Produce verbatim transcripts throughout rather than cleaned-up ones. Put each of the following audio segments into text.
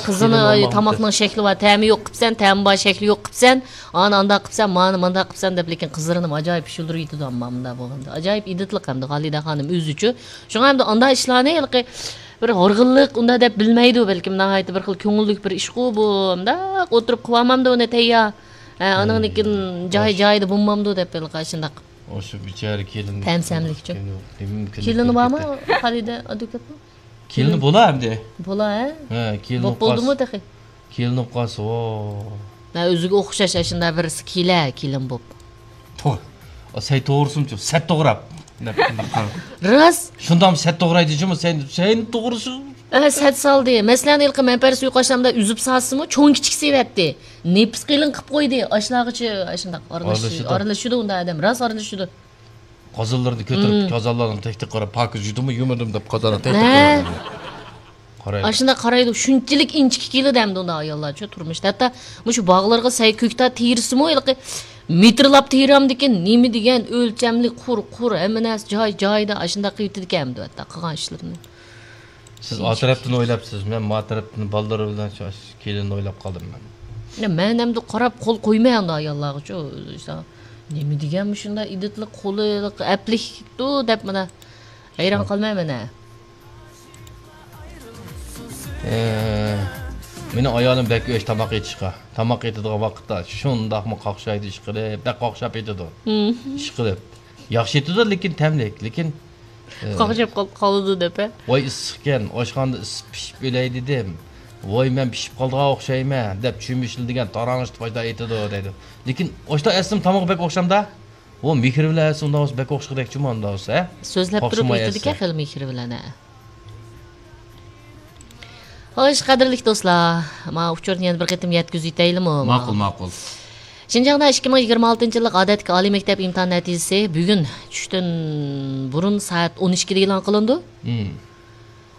قىزىنى تاماقنىڭ شەكلى بار، تەمى يوق قىپسەن، تەمى بار، شەكلى يوق قىپسەن، ئانا ئانداق قىپسەن، مانا مانداق قىپسەن دەپ، لېكىن قىزلىرىنى ئاجايىپ پىشۇلدۇرۇۋېتىدۇ ئەمما مۇنداق بولغاندا. ئاجايىپ ئىدىتلىق ئەمدى خالىدە خانىم ئۆزىچۇ. شۇڭا ئەمدى ئانداق ئىشلارنى ھېلىقى بىر ھورغۇنلۇق ئۇنداق دەپ بىلمەيدۇ، بەلكىم ناھايىتى بىر خىل كۆڭۈللۈك بىر ئىشقۇ بۇ. مۇنداق ئولتۇرۇپ قىلالمامدۇ ئۇنى تەييار. ھە، ئانىڭدىن كېيىن جاي-جايىدا بولمامدۇ دەپ ھېلىقى ئاشۇنداق. ئاشۇ بىچارە كېلىن. تەمسەملىكچۇ. كېلىنى بارمۇ خالىدە ئادۋوكاتنىڭ؟ كېلىنى بولا ئەمدى. بولا، ھە؟ ھە، كېلىن بولۇپ بولدىمۇ تېخى؟ كېلىن بولۇپ قالسا، ۋو. ھە، ئۆزىگە ئوخشاش ئاشۇنداق بىرسى كېلە، كېلىن بوپ. تو-، سەي توغرىسىمۇ، سەت توغراپ. دەپ شۇنداق قارا. راست. شۇنداقمۇ سەت توغرايدىچۇمۇ، سەي، سەي توغرىسى. ھە، سەت سالدى. مەسىلەن، ھېلىقى مەنپەرىس ئۇيقۇ ئاشلامدا ئۈزۈپ سالسىمۇ، چوڭ كىچىك سېۋەتتى. نېپىز قېلىن قىپ قويدى. ئاشلارغىچە ئاشۇنداق ئارىلىشىدۇ. ئارىلىشىدۇ. ئارىلىشىدۇ ئۇنداق ئادەم. راست ئارىلىشىدۇ. قازانلىرىنى كۆتۈرۈپ، قازانلارنىڭ تەكتىگە قاراپ، پاكىز يۇدۇمۇ، يۇمىدىم دەپ قازاننى تەكتىگە قويىدۇ. قارايدۇ. ئاشۇنداق قارايدۇ، شۇنچىلىك ئىنچىكە كېلىدۇ ئەمدى ئۇنداق ئاياللارچۇ تۇرمۇشتا. ھەتتا مۇشۇ باغلارغا سەي كۆكتات تېرىسىمۇ، ھېلىقى مېتىرلاپ تېرەمدىكىن، نېمە دېگەن ئۆلچەملىك، قۇر، قۇر، ھەممە نەرسە جاي، جايىدا، ئاشۇنداق قىلىۋېتىدىكەن ئەمدى ھەتتا قىلغان ئىشلىرىنى. سىز ئا تەرەپتىن ئويلاپسىز، مەن ما تەرەپتىن بالىلىرى بىلەن شۇ كېلىننى ئويلاپ قالدىم مەن. يا، مەن ئەمدى قاراپ قول قويماي ئەمدى ئاياللارغىچۇ. نېمە دېگەن مۇشۇنداق ئىدىتلىق قولى ئەپلىكتۇ دەپ مانا ھەيران قالمايمەن ھە. ئە، مېنىڭ ئايالىم بەك ئۆچ تاماق ئېتىشقا. تاماق ئېتىدىغان ۋاقىتتا شۇنداقمۇ قاقشايدۇ، ئىشقىلىپ، بەك قاقشاپ ئېتىدۇ. ئىشقىلىپ. ياخشى ئېتىدۇ، لېكىن تەملىك. لېكىن قاقشاپ قال-، قالىدۇ دەپ، ھە؟ ۋاي ئىسسىقكەن، ئاشخانىدا ئىسسىپ پىشىپ ئۆلەي دېدىم. ۋاي مەن پىشىپ قالىدىغان ئوخشايمەن دەپ چۈمۈشلىدىگەن تاراڭشىتىپ ئاشۇنداق ئېتىدۇ دەيدۇ. لېكىن ئاشۇنداق ئەتسىمۇ تامىقى بەك ئوخشامدا؟ ۋو مېھرى بىلەن ئەتسە ئۇنداق بولسا بەك ئوخشىغۇدەكچۇ مۇنداق بولسا، ھە؟ سۆزلەپ تۇرۇپ ئېتىدىكەن خېلى مېھرى بىلەن، ھە. خوش، قەدىرلىك دوستلار، ما ئۇچۇرنى يەنە بىر قېتىم يەتكۈزۈۋېتەيلىمۇ؟ ماقۇل، ماقۇل. شىنجاڭدا ئىككى مىڭ يىگىرمە ئالتىنچى يىللىق ئادەتتىكى ئالىي مەكتەپ ئىمتىھان نەتىجىسى بۈگۈن چۈشتىن بۇرۇن سائەت ئون ئىككىدە ئېلان قىلىنىدۇ. مم.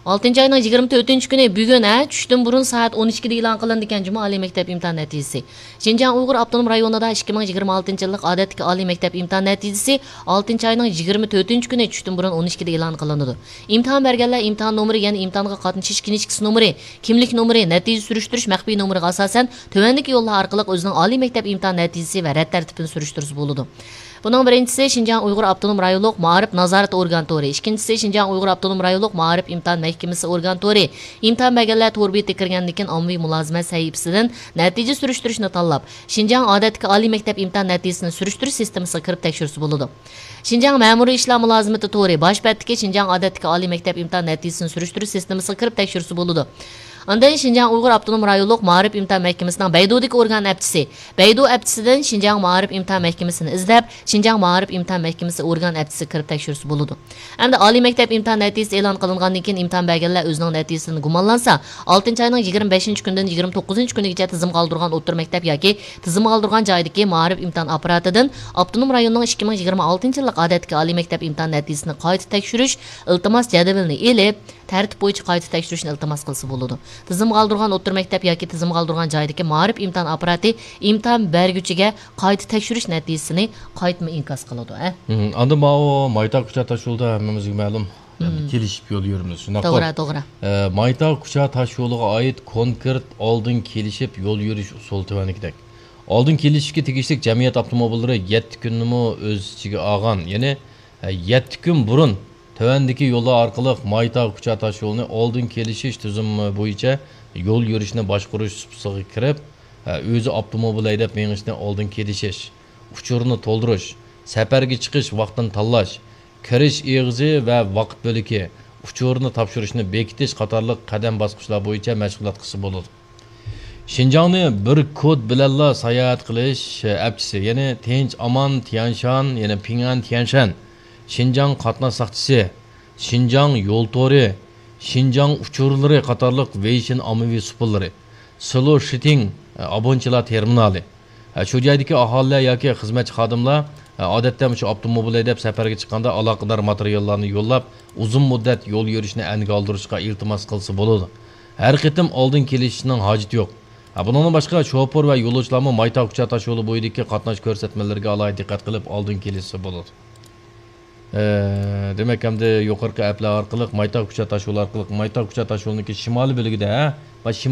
ئالتىنچى ئاينىڭ يىگىرمە تۆتىنچى كۈنى بۈگۈن، ھە، چۈشتىن بۇرۇن سائەت ئون ئىككىدە ئېلان قىلىنىدىكەن جۇمۇ ئالىي مەكتەپ ئىمتىھان نەتىجىسى. شىنجاڭ ئۇيغۇر ئاپتونوم رايونىدا ئىككى مىڭ يىگىرمە ئالتىنچى يىللىق ئادەتتىكى ئالىي مەكتەپ ئىمتىھان نەتىجىسى ئالتىنچى ئاينىڭ يىگىرمە تۆتىنچى كۈنى چۈشتىن بۇرۇن ئون ئىككىدە ئېلان قىلىنىدۇ. ئىمتىھان بەرگەنلەر ئىمتىھان نومۇرى، يەنى ئىمتىھانغا قاتنىشىش كىنىشكىسى نومۇرى، كىملىك نومۇرى، نەتىجە سۈرۈشتۈرۈش مەخپىي نومۇرىغا ئاساسەن، تۆۋەندىكى يوللار ئارقىلىق ئۆزىنىڭ ئالىي مەكتەپ ئىمتىھان نەتىجىسى ۋە رەت تەرتىپىنى سۈرۈشتۈرسە بولىدۇ. بۇنىڭ بىرىنچىسى شىنجاڭ ئۇيغۇر ئاپتونوم رايونلۇق مائارىپ نازارىتى ئورگان تورى، ئىككىنچىسى شىنجاڭ ئۇيغۇر ئاپتونوم رايونلۇق مائارىپ ئىمتىھان مەھكىمىسى ئورگان تورى. ئىمتىھان بەرگەنلەر تور بېتىگە كىرگەندىن كېيىن ئاممىۋى مۇلازىمەت سەھىپىسىدىن نەتىجە سۈرۈشتۈرۈشنى تاللاپ، شىنجاڭ ئادەتتىكى ئالىي مەكتەپ ئىمتىھان نەتىجىسىنى سۈرۈشتۈرۈش سىستېمىسىغا كىرىپ تەكشۈرسە بولىدۇ. شىنجاڭ مەمۇرىي ئىشلار مۇلازىمىتى تورى، باش بەتتىكى شىنجاڭ ئادەتتىكى ئالىي مەكتەپ ئىمتىھان نەتىجىسىنى سۈرۈشتۈرۈش سىستېمىسىغا كىرىپ تەكشۈرسە بولىدۇ. ئاندىن شىنجاڭ ئۇيغۇر ئاپتونوم رايونلۇق مائارىپ ئىمتىھان مەھكىمىسىنىڭ بەيدۇدىكى ئورگان ئەپچىسى، بەيدۇ ئەپچىسىدىن شىنجاڭ مائارىپ ئىمتىھان مەھكىمىسىنى ئىزدەپ، شىنجاڭ مائارىپ ئىمتىھان مەھكىمىسى ئورگان ئەپچىسىگە كىرىپ تەكشۈرسە بولىدۇ. ئەمدى ئالىي مەكتەپ ئىمتىھان نەتىجىسى ئېلان قىلىنغاندىن كېيىن ئىمتىھان بەرگەنلەر ئۆزىنىڭ نەتىجىسىدىن گۇمانلانسا، ئالتىنچى ئاينىڭ يىگىرمە بەشىنچى كۈنىدىن يىگىرمە توققۇزىنچى كۈنىگىچە تىزىمغا ئالدۇرغان ئوتتۇرا مەكتەپ ياكى تىزىمغا ئالدۇرغان جايىدىكى مائارىپ ئىمتىھان ئاپپاراتىدىن ئاپتونوم رايوننىڭ ئىككى مىڭ يىگىرمە ئالتىنچى يىللىق ئادەتتىكى ئالىي مەكتەپ ئىمتىھان نەتىجىسىنى قايتا تەكشۈرۈش ئىلتىماس جەدۋىلىنى ئېلىپ، تەرتىپ بويىچە قايتا تەكشۈرۈشنى ئىلتىماس قىلسا بولىدۇ. تىزىمغا ئالدۇرغان ئوتتۇرا مەكتەپ ياكى تىزىمغا ئالدۇرغان جايدىكى مائارىپ ئىمتىھان ئاپپاراتى ئىمتىھان بەرگۈچىگە قايتا تەكشۈرۈش نەتىجىسىنى قايتىمۇ ئىنكاس قىلىدۇ، ھە؟ مم، ئاندىن ماۋۇ مايتا كۇچا تاشيولىدا ھەممىمىزگە مەلۇم، ئەمدى كېلىشىپ يول يۈرىمىز، شۇنداققۇ؟ توغرا، توغرا. ئە، مايتا كۇچا تاشيولىغا ئائىت كونكرېت ئالدىن كېلىشىپ يول يۈرۈش ئۇسۇلى تۆۋەندىكىدەك. ئالدىن كېلىشىشكە تېگىشلىك جەمئىيەت ئاپتوموبىللىرى يەتتە كۈننىمۇ ئۆز ئىچىگە ئالغان، يەنى، ئە، يەتتە كۈن بۇرۇن تۆۋەندىكى يوللار ئارقىلىق مايتا كۇچا تاشيولىنى ئالدىن كېلىشىش تۈزۈمى بويىچە يول يۈرۈشنى باشقۇرۇش سۇپىسىغا كىرىپ، ئە، ئۆزى ئاپتوموبىل ھەيدەپ مېڭىشنى ئالدىن كېلىشىش، ئۇچۇرنى تولدۇرۇش، سەپەرگە چىقىش ۋاقتىنى تاللاش، كىرىش ئېغىزى ۋە ۋاقىت بۆلىكى، ئۇچۇرنى تاپشۇرۇشنى بېكىتىش قاتارلىق قەدەم باسقۇچلار بويىچە مەشغۇلات قىلسا بولىدۇ. شىنجاڭنى بىر كود بىلەنلا ساياھەت قىلىش ئەپچىسى، يەنى تىنچ ئامان تيەنشان، يەنى پىڭئەن تيەنشەن، شىنجاڭ قاتناش ساقچىسى، شىنجاڭ يول تورى، شىنجاڭ ئۇچۇرلىرى قاتارلىق ۋېيشىن ئاممىۋى سۇپىلىرى، سىلو شىتىڭ ئابۇنچىلار تېرمىنالى، شۇ جايدىكى ئاھالىلەر ياكى خىزمەتچى خادىملار، ئادەتتە مۇشۇ ئاپتوموبىل ھەيدەپ سەپەرگە چىققاندا ئالاقىدار ماتېرىياللارنى يوللاپ، ئۇزۇن مۇددەت يول يۈرۈشنى ئەنگە ئالدۇرۇشقا ئىلتىماس قىلسا بولىدۇ. ھەر قېتىم ئالدىن كېلىشىشنىڭ ھاجىتى يوق. ھە، بۇنىڭدىن باشقا، شوپۇر ۋە يولۇچىلارمۇ مايتا كۇچا تاشيولى بويىدىكى قاتناش كۆرسەتمىلىرىگە ئالاھىدە دىققەت قىلىپ، ئالدىن كېلىشسە بولىدۇ. ئە، دېمەك، ئەمدى يۇقىرىقى ئەپلەر ئارقىلىق مايتا كۇچا تاشيولى ئارقىلىق، مايتا كۇچا تاشيولىنىڭكى شىمالىي بۆلىكىدە، ھە، ۋە شىمال